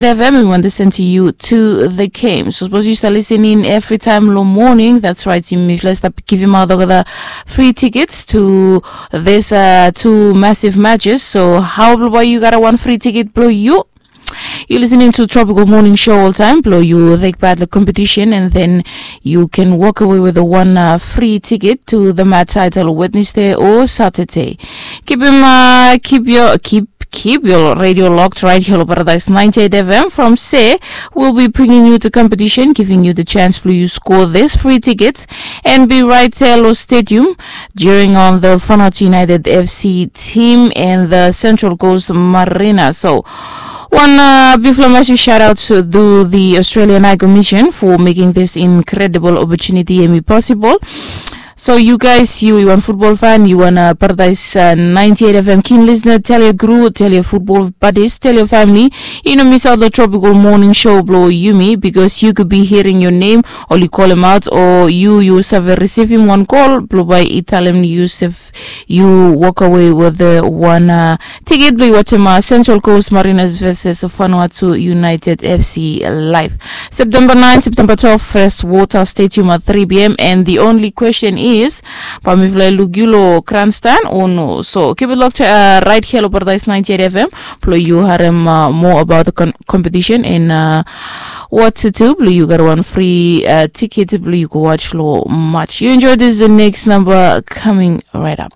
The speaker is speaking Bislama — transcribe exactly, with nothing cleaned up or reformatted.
F M and we want to send to you to the game. So suppose you start listening every time lo morning. That's right. Yumi fla start giving out the free tickets to this uh, two massive matches. So how about you got a one free ticket, bro? You you listening to Tropical Morning Show all time, bro? You take part the competition and then you can walk away with a one uh, free ticket to the match title Wednesday or Saturday. Keep him, uh, keep your keep keep your radio locked right here on Paradise ninety-eight F M. From say we'll be bringing you the competition, giving you the chance to you score this free tickets and be right there lo stadium during on the Fanat United F C team and the Central Coast Marina. So one uh, big massive shout out to the Australian High Commission for making this incredible opportunity and be possible. So you guys, you, you want football fan, you want a Paradise uh, ninety-eight F M keen listener, tell your crew, tell your football buddies, tell your family. You know, miss out the Tropical Morning Show, bro, Yumi, because you could be hearing your name, or you call him out, or you, you save receive him one call, bro, by Italian, you save, you walk away with the one uh, ticket, bro, watch him, uh, Central Coast Marinas versus Vanuatu United F C live. September nine, September twelve, Freshwater Stadium at three p.m. And the only question is, pamifla lugilo grandstand or no? So keep it locked uh, right here lo Paradise ninety-eight F M. Blo you harem uh, more about the con- competition and uh, what to do. Blo you got one free uh, ticket. Blo you go watch lo match. You enjoy this the next number coming right up.